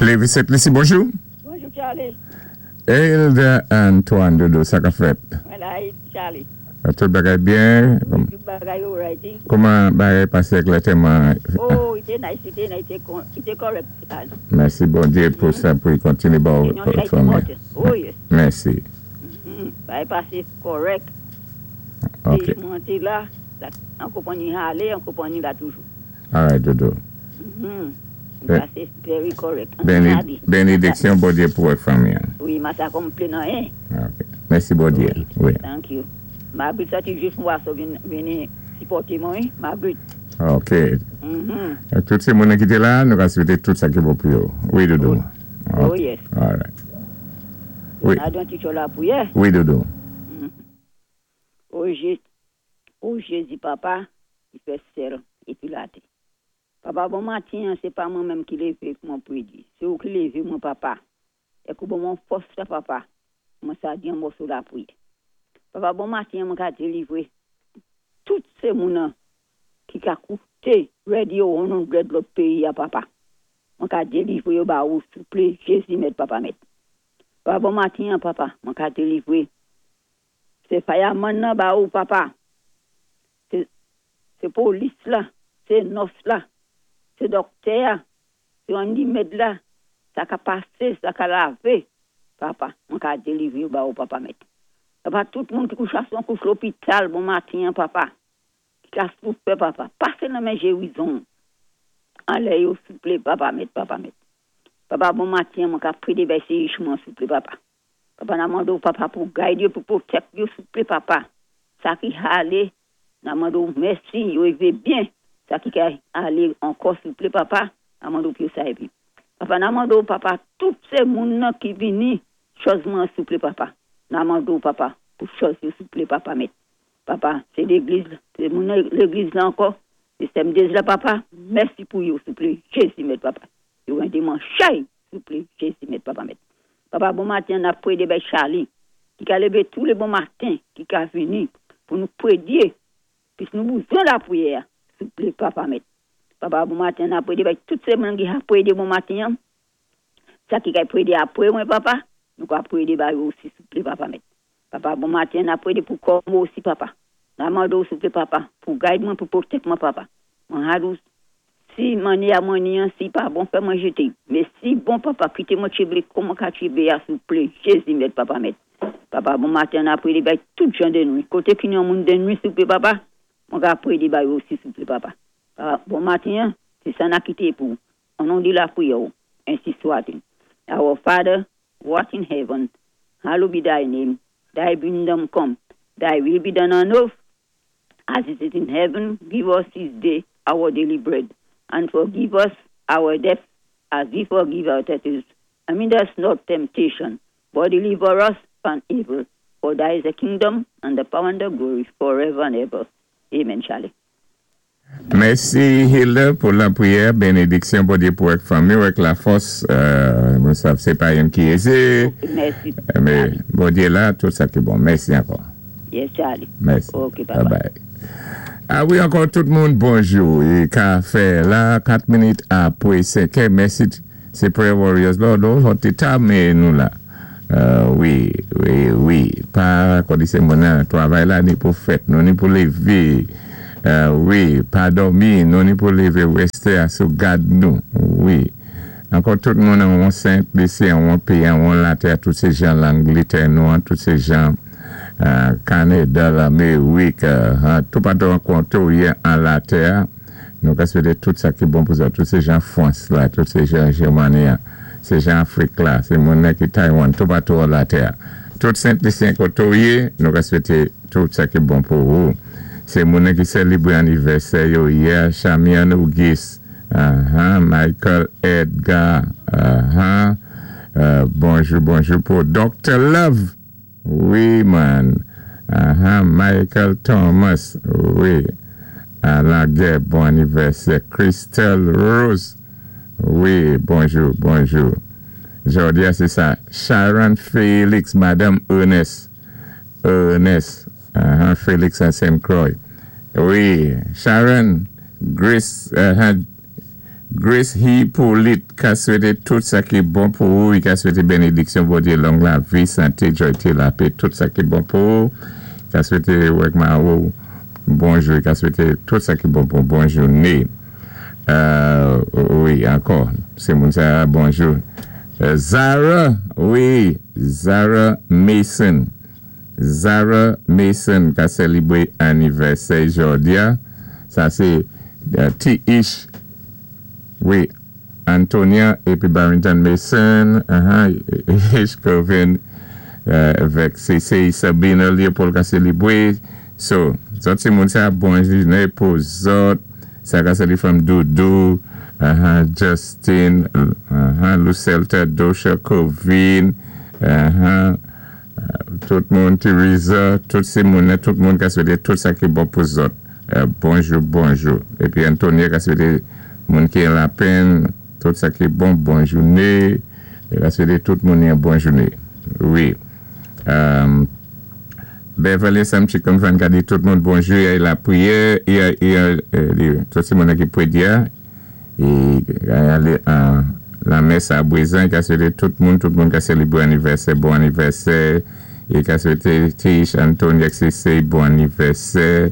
Lévi Sent Lisi, bonjou. Bonjou, Charlie. Hilda Antoine Dodo, sa ka fèt? Mwen la, Charlie. Tout bagay byen? Tout bagay alright. Kouman bagay pasé klèteman? Oh, i té nice, i té nice, i té correct. Mèsi Bondyé pou sa, pou kontiné bon fanmi. Oh, yes. Mèsi. Bagay pasé correct. Ok. Mwen té la, an konpanyi alé, an konpanyi la toujou. All right, Dodo. Pasé very correct. Bénédiksyon Bondyé pou wè fanmi. Wi, mwen sa konplè nan en. Ok. Mèsi Bondyé. Wi. Thank you. Margaret sa ti jis mwa so vini sipòté mwen, Margaret. Ok. Tout sé moun ki té la, nou ka swété tout sa ki bon pou yo. Wi, Dodo. Oh, yes. All right. Wi. Na don ti lapriyè. Wi, Dodo. O Jézi, o Jézi papa, ki fè syèl épi latè. Papa, bon maten, sé pa mwen menm ki lévé pou mwen prédé. Sé ou ki lévé mwen, papa. É kou ban mwen fòs, papa. Mwen sa di yon mòso lapriyè. Papa, bon maten, mwen ka délivré tout sé moun ki ka kouté radio 100 lòt péyi a papa. Mwen ka délivré yo ba ou, souplé, Jézi mèt, papa mèt. Papa, bon maten, papa, mwen ka délivré. Sé fireman nan ba ou, papa. Sé polis la, sé nurse la, sé dòktè, sé handyman la, sa ka pasé, sa ka lavé. Papa, mwen ka délivré ba ou, papa mèt. Papa, tout moun ki kouché an kouch lopital, bon maten, papa. Ki ka soufè, papa. Pasé nan men gérizon. Anlè yo, souplé, papa mèt, papa mèt. Papa, bon maten, mwen ka prédé bay sé mwen, souplé, papa. Papa, n ap mandé papa, pou guide yo, pou protect yo, souplé, papa. Sa ki alé, n ap mandé mèsi, yo rivé byen. Sa ki ka alé ankò, souplé, papa, n ap mandé pou sa épi. Papa, n ap mandé papa, tout sé moun ki vini, chòz mwen, souplé, papa. N ap mandé papa, pou chòz yo, souplé, papa, mèt. Papa, sé légliz, sé moun légliz la ankò, sé Semdez la, papa. Mèsi pou yo, souplé. Jézi, mèt, papa. Yo rendé mwen chay, souplé. Jézi, mèt, papa, mèt. Papa, bon maten, n ap prédé bay Charlie, ki ka lévé tous les bons matins, ki ka vini pou nou prédé, puis nou bezwen lapriyè, souplé, papa, mèt. Papa, bon maten, n ap prédé bay tout sé moun ki ap prédé bon maten, sa ki ka prédé apré mwen, papa, nou ka prédé bay osi, souplé, papa, mèt. Papa, bon maten, n ap prédé pou kò mwen osi, papa. N ap mandé souplé, papa, pou guide mwen, pou protect mwen, papa. Mwen hadou, si mani a mwen ni si pa bon, fè mwen jété. Mais si bon, papa, kité mwen tchibé, kouman ka tchibé, souplé, Jézi, mèt, papa, mèt. Papa, bon maten, n ap prédé bay tout jan de nwit. Koté ki yon moun de nwit, souplé, papa, mwen ka prédé bay osi, souplé, papa. Papa, bon maten, sé sa n ap kité pou. O non di lapriyè, ensi swat-il. Our Father, who art in heaven, hallowed be thy name. Thy kingdom come. Thy will be done on earth as it is in heaven. Give us this day our daily bread, and forgive us our debts as we forgive our debtors. And lead us not temptation, but deliver us from evil. For thy is the kingdom and the power and the glory forever and ever. Amen, Charlie. Mèsi Hilda pou lapriyè, bénédiksyon Bondyé pou avèk fanmi, avèk lafòs. Mwen sav sé pa youn ki ézé. Mèsi. Mais Bondyé la, tout sa ki bon. Mèsi ankò. Yes, Charlie. Mèsi. Ok, bye bye. Bye. A wi, ankò tout moun, bonjou. É ka fè la 4 minit apwé 5 è. Mèsi, sé Prayer Warriors la, nou ta mé nou la. Wi. Pa kòdi sé moun nan travay la ni pou fèt, nou ni pou lévé. Wi, pa dòmi, nou ni pou lévé résté a sou gad nou. Wi. Ankò tout moun an Sent Lisi, an péyi, an latè, tout sé jan Langlétè nou, an, tout sé jan Kanada, Lamérik, tout patou an konto an latè, nou ka swété tout sa ki bon pou sa, tout sé jan Fwans la, tout sé jan Jèmani, sé jan Afrik la, sé moun ki Taïwan, tout patou an latè. Tout Sent Lisyen koto yé, nou ka swété tout sa ki bon pou ou. Sé moun ki sélébré anivèsè yo yè, Chamian Auguste, Michael Edgar, bonjou, bonjou pou Dr. Love, wi man, Michael Thomas, wi, Alaguer, bon anivèsè, Crystal Rose, wi, bonjou, bonjou. Jodi a, sé sa, Sharon Félix, Madame Ernest, Ernest, Félix à Saint Croix. Wi, Sharon, Grace, Grace Hippolyte ka swété tout sa ki bon pou ou, i ka swété bénédiksyon Bondyé, long lavi, santé, jwayté, lapè, tout sa ki bon pou ou. Ka swété ou ak mari ou bonjou, ka swété tout sa ki bon pou bon jouné. Wi, ankò, sé moun sa, bonjou. Zara, wi, Zara Mason. Zara Mason ka sélébwé anivèsè jòdi a. Sa sé T. Ish, wi, Antonia épi Barrington Mason, Ish Coven, avèk sé Sabina Leopold ka sélébwé. So, zòt sé moun sa, bon jouné pou zòt. Sa ka sali fanm Doudou, Justin, Lucelta, Dosha, Covin, tout moun, Teresa, tout sé moun, tout moun ka swété tout sa ki bon pou zòt. Bonjou, bonjou. Épi Antonia ka swété moun ki an lapenn, tout sa ki bon, bon jouné. É ka swété tout moun yon bon jouné. Wi. Beverly Samchikom van ka di tout moun bonjou, y a lapriyè, y a tout sé moun ki pwédyé, é alé lamès a Bwézan, ka swété tout moun ka sélébwé anivèsè, bon anivèsè, é ka swété Tish, Antonia, Cissé, bon anivèsè,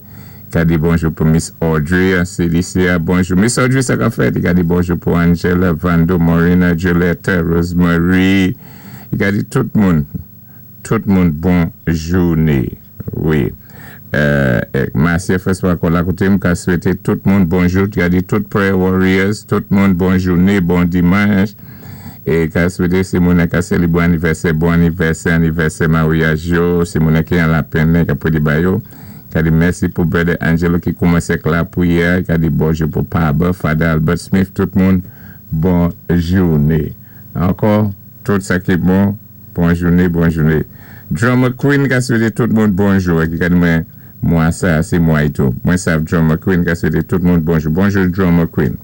ka di bonjou pou Miss Audrey, CDC, bonjou. Miss Audrey, sa ka fèt, ka di bonjou pou Angela, Vando, Morena, Julietta, Rosemary, ka di tout moun bon jouné. Wi. Marcia François Kola koté m ka swété tout moun bonjou, ka di tout prayer warriors, tout moun bon jouné, bon dimanch. É ka swété si moun ka sélébwé anivèsè, bon anivèsè, anivèsè maryaj yo, si moun ki an lapenn, ka pou di ba yo. Ka di mèsi pou Brother Angelo ki koumansé lapriyè, ka di bonjou pou Papa, Father Albert Smith, tout moun, bon jouné. Ankò, tout sa ki bon, bon jouné, bon jouné. Drummer Queen ka swété tout moun bonjou. Ki ka di mwen, mwa sa, sé mwa tou. Mwen sav Drummer Queen ka swété tout moun bonjou. Bonjou Drummer Queen.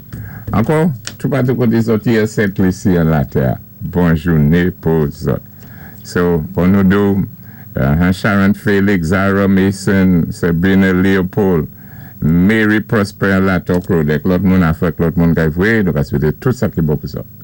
Ankò, tout patou koté zòt yé Sent Lisi an latè. Bon jouné pou zòt. So, bon nou do, Sharon Felix, Zara Mason, Sabrina Leopold, Mary Prosper la Road, ek lòt moun afè lòt moun kay vwé, nou ka swété tout sa ki bon pou zòt.